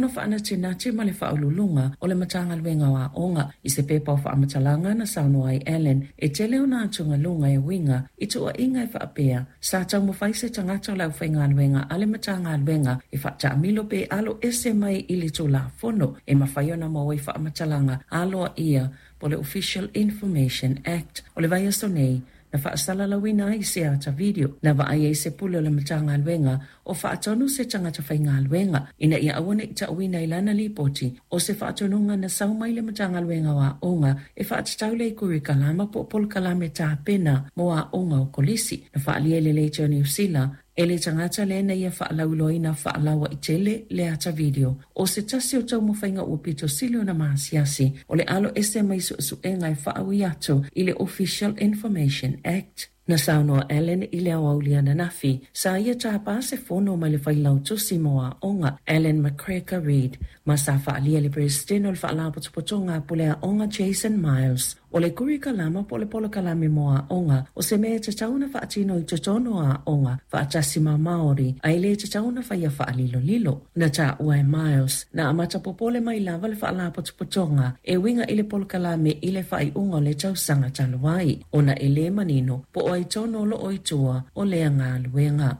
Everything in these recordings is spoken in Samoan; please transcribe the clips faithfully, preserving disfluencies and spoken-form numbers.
Fono Faanatinati ma le Faauluuluga o le Matagaluega o Aoga. I se pepa o faamatalaga na saunoa ai Allan, e tele ona atugaluga e uiga i tuuaiga e faapea sa taumafai se tagata o le aufaigaluega a le Matagaluega e faataamilo pe alo ese mai i le Tulafono e mafai ona maua ai faamatalaga aloaia po o le Official Information Act. O le vaiaso nei, na faasalalauina ai se ata video na vaai ai se pule o le Matagaluega o faatonu se tagata faigaluega ina ia aua ne i tauina i lana lipoti o se faatonuga na sau mai le Matagaluega o Aoga e faatatau le kurikalama po o polokalame tapena mo aoga o kolisi. Na faaalia e le Leitio Niu Sila e le tagata lea na ia faalauiloaina faalauaitele le ata video o se tasi o taumafaiga ua pito sili ona masiasi o le alo ese mai suesuega e faaui atu i le Official Information Act. Na saunoa Allan i le aoauli ananafi sa ia tapa se fono mai le failautusi mo aoga Alan McGregor Reid ma sa faaalia le Peresetene o le Faalapotopotoga a Pule Aoga Jason Miles o le kurikalama po o le polokalame mo aoga o se mea e tatau ona faatino i totonu o aoga faatasi ma Māori ae le tatau ona faia faalilolilo. Na taua e Miles na amata popole mai lava le Faalapotopotoga e uiga i le polokalame i le faaiuga o le tausaga talu ai ona e le manino po o ai tonu o loo i tua o lea galuega.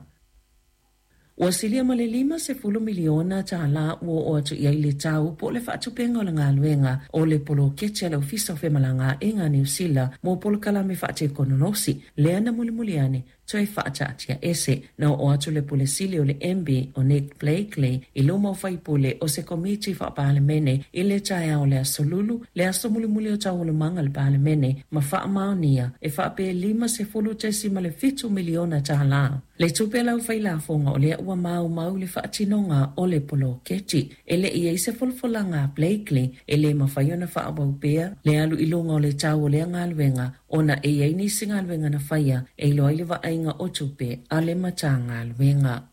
Ua silia ma le lima sefulu miliona tālā ua oo atu i ai le tau po o le faatupenga o le galuega o le poloketi a le Ofisa o Femalagaaiga a Niu Sila mo polokalame faatekonolosi lea na mulimuli ane toe faataatia ese. Na oo atu le pule sili o le M B o Nick Blakely i luma o faipule o se komiti faapalemene i le taeao o le aso Lulu, le aso mulimuli o taualumaga le palemene ma faamaonia e faapea lima sefulu tesi ma le fitu miliona tālā. Le tupe lau failafoga o lea ua maumau le faatinoga o le poloketi. E le i ai se folafolaga a Blakely e le mafai ona faaauau pea le alu i luga o le tau o lea galuega ona e iai nisi galuega na faia e iloa ai le vaaiga o tupe a le Matagaluega.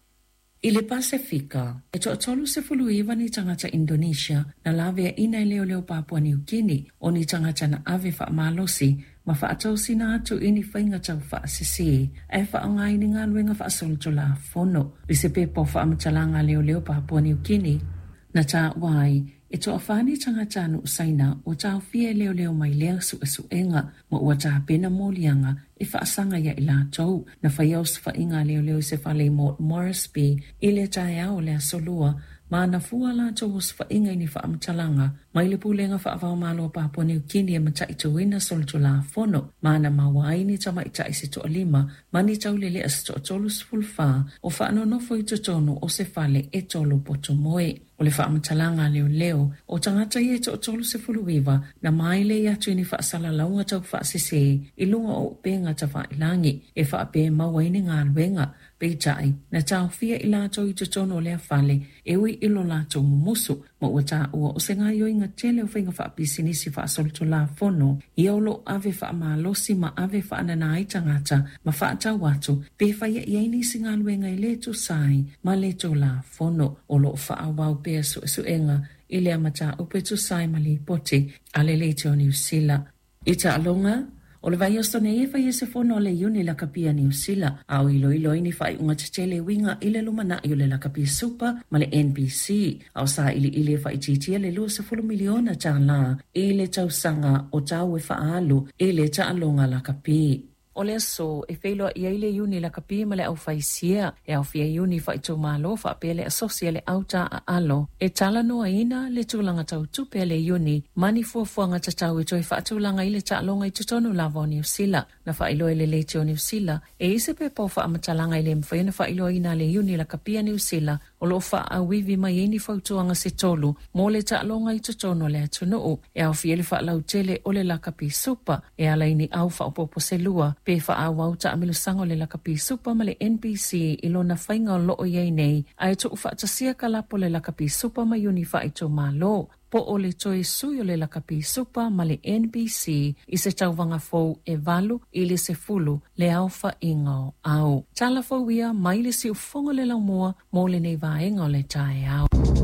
I le Pasefika, e toatolu sefulu iwa ni tagata Indonesia na laveaina e leoleo Papua Niu Kini o ni tagata na ave faamalosi ma faatosina atu i ni faiga tau faasese ae faaaoga i ni galuega faasolitulafono. I se pepa o faamatalaga a leoleo Papua Niu Kini, na taua ai e toafā ni tagata anu Saina ua taofia e leoleo mai lea suesuega ma ua tapena moliaga e faasaga ia i latou. Na faia osofaiga a leoleo i se fale i Mort Moresby i le taeao o le aso Lua ma na fua latou osofaiga i ni faamatalaga mai le pulega faavaomalo o Papua Niu Kini e mataituina solitulafono ma na maua ai ni tamaita'i se toalima ma ni taulelea se toatolu sefulu fa o faanonofo i totonu o se fale e tolu potomoe. O le faamatalaga a leoleo o tagata ia e toatolu sefulu iwa na mailei atu i ni faasalalauga tau faasese i luga o upega tafailagi e faapea e maua ai ni galuega. Peitai na taofia i latou i totonu o lea fale e ui i lo latou mumusu ma ua taua o se gaoioiga tele o faiga faapisinisi faasolitulafono ia o loo ave faamalosi ma ave faanana ai tagata ma faatau atu pe faia i ai nisi galuega e lē tusa ai ma le tulafono. O loo faaauau pea suesuega i lea mataupu e tusa ai ma lipoti a le Leitio Niu Sila. I taaloga, o le vaiaso nei e faia se fono a le Iuni Lakapi a Niu Sila a o iloilo ai ni faaiuga tetele e uiga i le lumanai o le Lakapi Super ma le N B C a o sailiili e faaitiitia le luasefulu miliona tālā i le tausaga o tau e faaalu i le taaloga lakapi. O le aso e feiloai ai le Iuni Lakapi ma le aufaisia e aofia Iuni faaitumalo faapea le asosi a le auta aalo e talanoaina le tulaga tautupe a le Iuni ma ni fuafuaga tatau e toe faatulaga i le taaloga i totonu lava o Niu Sila. Na faailoa e le Leitio o Niu Sila e i se pepa o faamatalaga e le mafai ona faailoaina a le Iuni Lakapi a Niu Sila o loo faaauivi mai ai ni fautuaga se tolu mo le taaloga i totonu o le atunuu e aofia le faalautele o le Lakapi Super e ala i ni au faaopoopo se lua pe faaauau taamilosaga o le Lakapi Super ma le N B C i lona faiga o loo iai nei ae tuufaatasia kalapo le Lakapi Super ma Iuni faaitumalo po o le toe sui o le Lakapi Super ma le N B C i se tauvaga fou e valu i le sefulu le aofaiga o au. Tala fou ia mai le siufogo le laumua mo lenei vaega o le taeao.